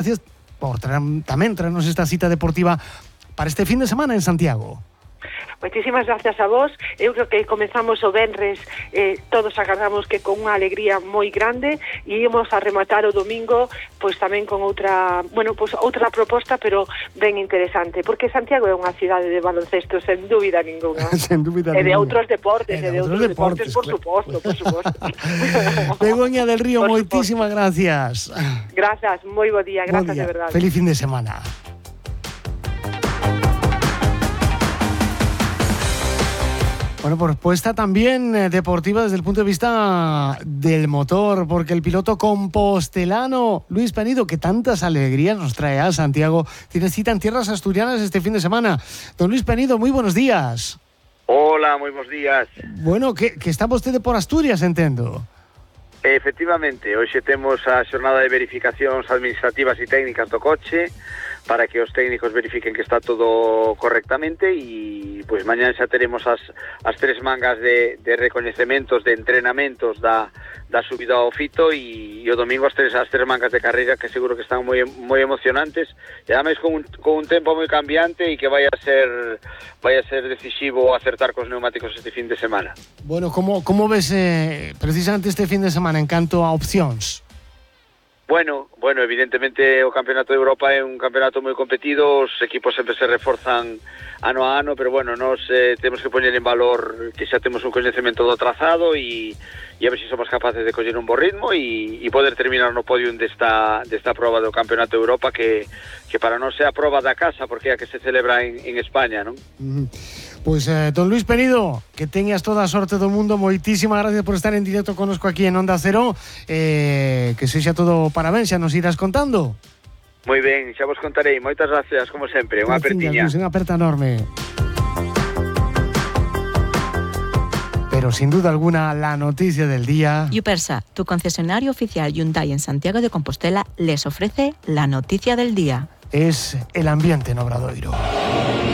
Gracias por tamén traernos esta cita deportiva para este fin de semana en Santiago. Moitísimas gracias a vos. Eu creo que comezamos o venres, todos agardamos que con unha alegría moi grande, e íamos a rematar o domingo pois tamén con outra proposta, pero ben interesante, porque Santiago é unha cidade de baloncesto sen dúbida ninguna. Sen dúbida e de ninguna. outros deportes, por suposto. Begoña del Río, moitísimas gracias. Gracias, moi bo día, gracias de verdade. Feliz fin de semana. Bueno, propuesta también deportiva desde el punto de vista del motor, porque el piloto compostelano Luis Penido, que tantas alegrías nos trae a Santiago, tiene cita en tierras asturianas este fin de semana. Don Luis Penido, muy buenos días. Hola, moi bons días. Bueno, que está vostede por Asturias, entendo. Efectivamente, hoxe temos a xornada de verificacións administrativas e técnicas do coche para que os técnicos verifiquen que está todo correctamente, e pois mañán xa teremos as tres mangas de recoñecementos, de entrenamentos da subida ao fito, e o domingo as tres mangas de carreira, que seguro que están moi emocionantes, e ademais con un tempo moi cambiante e que vai a ser decisivo acertar cos neumáticos este fin de semana. Bueno, como ves precisamente este fin de semana en canto a opcións? Bueno, evidentemente o Campeonato de Europa é un campeonato moi competido, os equipos sempre se reforzan ano a ano, pero bueno, nos temos que poñer en valor que xa temos un coñecemento do trazado, e a ver se somos capaces de coller un bo ritmo e poder terminar no podium desta proba do Campeonato de Europa, que para nós é a proba da casa, porque é a que se celebra en España, non? Pois, don Luis Penido, que teñas toda a sorte do mundo, moitísimas gracias por estar en directo connosco aquí en Onda Cero, que sexa todo parabéns, xa nos irás contando. Moi ben, xa vos contarei, moitas gracias, como sempre, unha apertiña. Unha aperta enorme. Pero sin duda alguna, la noticia del día... Yupersa, tu concesionario oficial Hyundai en Santiago de Compostela, les ofrece la noticia del día. Es el ambiente en Obradoiro.